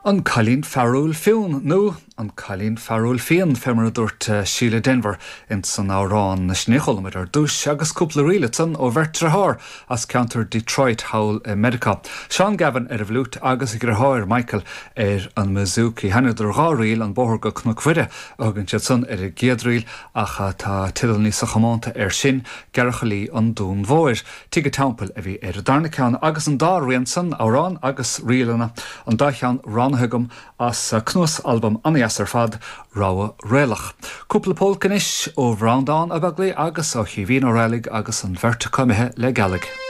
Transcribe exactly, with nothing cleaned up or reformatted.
An Cailín Fearúil Fionn nó an Cailín Fearúil Fian fé mar a dúirt Síle Denvir in san amhrán sin a chuala muid ar dtús agus cúpla ríl ansan ó bheirt deartháir as ceantar Detroit thall i Meiriceá. Seán Gavin ar an bhfliúit agus a dheartháir Michael ar an mbouzouki. Sheinneadar dhá ríl an bóthar go Cnoc Mhuire a thugann siad san ar an gcéad ríl ach tá teideal níos comónta air sin Gearrchailí an Dúin Mhóir. Tigh an Teampaill a bhí ar an darna ceann agus an dá rian san amhrán agus ríleanna an dá cheann roghnaithe agam as cnuasalbam an-deas ar fad Rogha Réalach. Cúpla pólca anois ó Bhreandán Ó Beaglaoich agus ó Chaoimhín Ó Raghallaigh agus an bheirt acu imithe le gealaigh.